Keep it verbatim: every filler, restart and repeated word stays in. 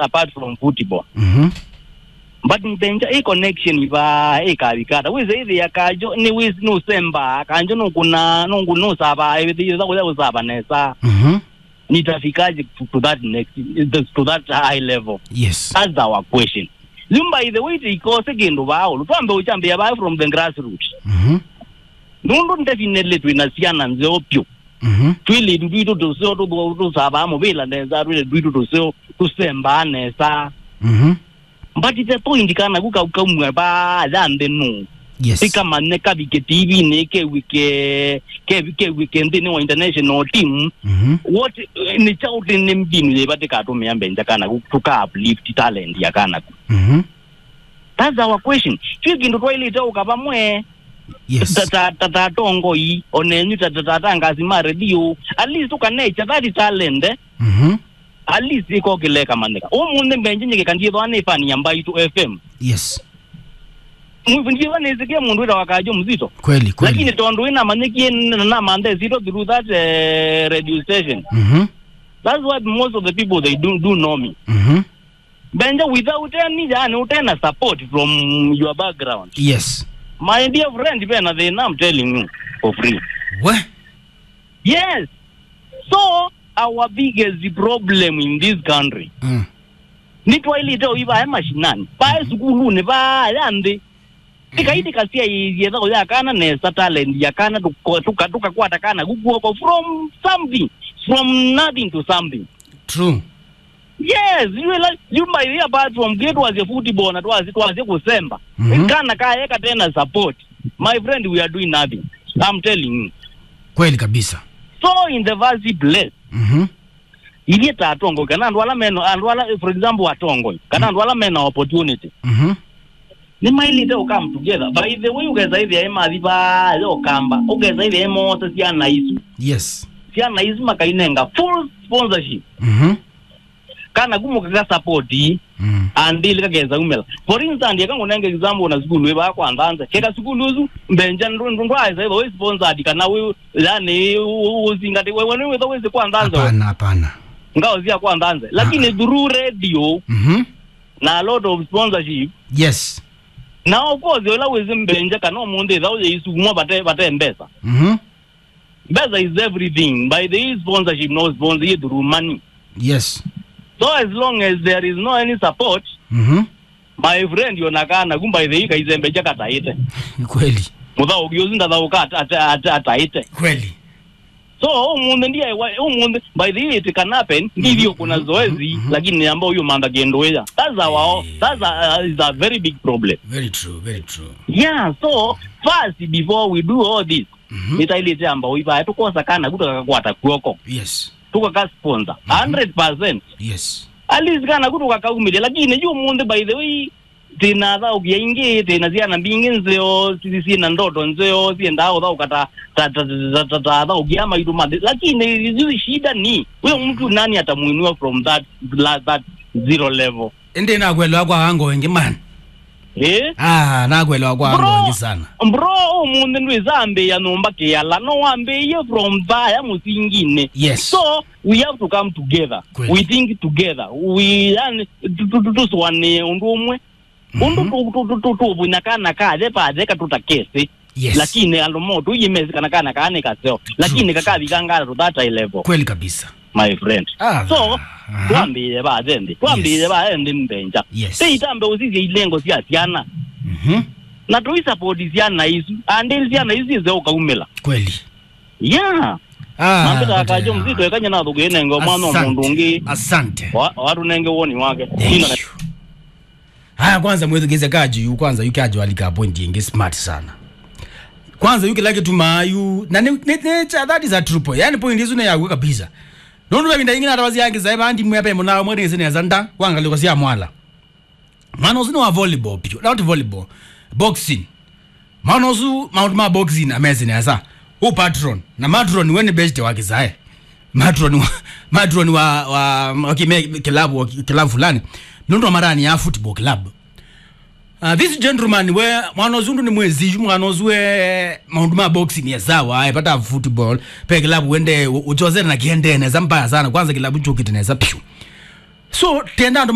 apart from football. Mhm. But mbenja ĩ connection ivaa ĩkavikata. Wĩsĩ ĩthĩa Kanjo nĩ wĩsĩ nũsemba, Kanjo nũkuna, nũkuna nũsava, ĩthĩa kũya ũsava nesa. Mhm. Nitafikaje to, to that next, to that high level? Yes. That's our question. You, by the way, tikose kĩndũ vaa ũlu. Twambe ũkyambĩa vaa from the grassroots. Mhm. Nũndũ definitely twĩna syana nzeo pyũ. Mhm. Twĩlĩtu twitũ tũseo tũthũ-, tũsavaa mũvĩla nesa, twĩlĩtu twitũ tũseo tũsembaa nesa. Mhm. But the point kana ku kau kaumwe vaa ya nthĩ nũ. Yes. Tikamanye kavike T V-nĩ, kew'ĩke, kevi-, kew'ĩke nthĩnĩ wa international team. Mhm. What, eh, nĩ kyaũ tĩ nĩ mbinu yĩva tĩkatũmĩa mbenja kana ku tũka uplift talent ya kana ku? Mhm. That's our question. Twĩ kĩndũ twaĩlĩte ũka vamwe. Yes. Ta, ta, ta, ta atongoi, onenyu ta, ta, ta, ta atangazi ma redio. At least tũkanecha that talent, eh? Mhm. At least ĩko kĩlekamanyĩka. Ũmũnthĩ mbenje nyĩkĩka ndiĩthwa nĩ fan ya Mbaitũ F M. Yes. Mwivu ndiĩthwa nĩsĩkĩe mũndũ wĩtawa Kanjo Mzito. Kweli, kweli. Lakini tondũ ĩnamanyĩkie na namanthe Zito through that, eh, radio station. Mhm. That's why most of the people they do, do know me. Mhm. Benja, without any, yani, utena support from your background. Yes. My dear friend, vena thĩna, I'm telling you for free. We? Yes. So, our biggest problem in this country, mm, nĩ twaĩlĩte ũivae mashinani. Vae, mhm, sukulunĩ, vaya nthĩ. Tikaitĩkasya yĩtha ũya kana nesa talent ya kana, tuko-, tuka-, tukakwata kana kukuoko from something, from nothing to something. True. Yes, you like, you, by the, apart from gate was a football na twasi, twasi kusemba. Mhm. Kana kaye katena support. My friend, we are doing nothing. I'm telling you. Kweli kabisa. So in the first place, mhm, ithyĩ ta atongoi, kana andũ ala mena, andũ ala, for example, atongoi, kana, mm, andũ ala mena opportunity, mhm, nĩmaĩlĩte ũ come together. By the way, ũkesa ĩthĩa ĩ mathi vaa yo kamba, ũkesa ĩthĩa ĩ mosa syana isu. Yes. Syana isu makainenga full sponsorship. Mhm. Kana kumũka ka support ii, mm, andili kakesa umela. For instance, eka ngũnenge example na sukulu ĩ vaa kwa Nthanze. Keka sukulu ũsu, mbenja ndũ-, ndũ-, ndwaesa ĩthwa wĩ sponsored kana wĩ, yani, ũ-, ũ-, ũsingati, we, we nĩwĩthwa wĩsĩ kwa Nthanze. Hapana, hapana. Ngao sya kwa Nthanze. Lakini, ah, ah, through radio, mhm, na a lot of sponsorship. Yes. Na of course, ũla wĩsĩ mbenja kana ũmũnthĩ ĩthaũ yĩisukumwa vate, vate mbesa. Mhm. Mbesa is everything. By the way, sponsorship no sponsor you through money. Yes. So as long as there is no any support, mhm, my friend, ona kana kumba ithe ikaizembe jakataite. Kweli. Muthaũki ũsu ndathaũka ata-, ata-, ata-, ataite. Kweli. So, ũmũnthĩ ndiye wa-, ũmũnthĩ, by the way, it can happen, mhm, ndivyo kuna, mhm, zoezi, mhm, lakini ambao huyo manda kendo ya. That's our, eh, that's a, is a very big problem. Very true, very true. Yeah, so first, before we do all this, mhm, nĩtaĩlĩte amba ũivae tũkosa kana ku tũkakakwata kw'oko. Yes. Tũkaka sponsor. Mhm. Hundred percent. Yes. At least kana ku tũkakaumĩlya, lakini yu ũmũnthĩ, by the way, tĩna athaũki aingĩ, tĩna syana mbingĩ nzeo, si-, si-, syĩna ndoto nzeo, siendaa ũthaũka ta, ta, ta athaũki a maitũ mathĩ. Lakini yu shida ni, huyo mtu nani atamuinua from that, la-, that zero level? Ĩndĩ nakwelewa kwa ango ĩngĩ, man. Eh? Ah, nakwelewa kwa ango ĩngĩ sana. Bro, ũmũnthĩ ndwĩsambĩĩa nyũmba kĩala, no wambĩĩie from vaya mũsinginĩ. Yes. So, we have to come together. Kweli. We think together. We, yani, tu-, tu-, tu-, tũsũanĩe ũndũ ũmwe. Ũndũ, mhm, tũ-, tũ-, tũ-, tũ-, tũvũnya kana kathe pathe katũtakesĩ. Yes. Lakini andũ mo tũyĩmesĩ kana kana kaa nĩ kaseo. True, lakini true, kakavikangala to that high level. Kweli kabisa. My friend. Ah, so, ah, twambĩĩe va nthĩ. Twambĩĩe, yes, va nthĩ mbenja. Yes. Tĩ itambe ũsisya ilengo sya syana. Mhm. Na tũisapoti syana isu. Andĩ syana isu syĩse ũkaumĩla. Kweli. Yeah. Ah, na mbĩta Kajo Mzito ekanya na thũkĩ nengo mwana mũndũ ũngĩ. Asante. Wa-, watũnenge woni wake. Thank you. Ina na- Haya, kwanza mwĩthukĩĩsye Kajo yu, kwanza yu Kajo alika point ĩngĩ smart sana. Kwanza yu kĩla kĩtumaa yu, na nĩ, nĩ, nĩ, cha-, that is a true point. Yani point isu nĩ yaku kabisa. Nũndũ ve vinda yingĩ natavasya angĩ saĩ vaa ndimwĩa pe mũnao mwe nĩsĩ nesa nda, kwa ngalĩko sya mwala. Mwana ũsu nĩ wa volleyball piũ, not volleyball, boxing. Mwana ũsu maũndũ ma boxing amesĩ nesa. Ũ patron, na matron we nĩ best wa kĩsaĩ. Matron wa, matron wa, wa, wa kĩme, club, wa kĩ-, club fulani. Nũndũ wa marani ya football club. Uh, this gentleman we, mwana ũsu ndũ nĩ mwĩsĩ yu, mwana ũsu we, maũndũ ma boxing ya sawa, e pata football, pe club wende, ũ-, ũchozere na kiende nesa mbaya sana, kwanza club chokite nesa piũ. So, tenda andũ ma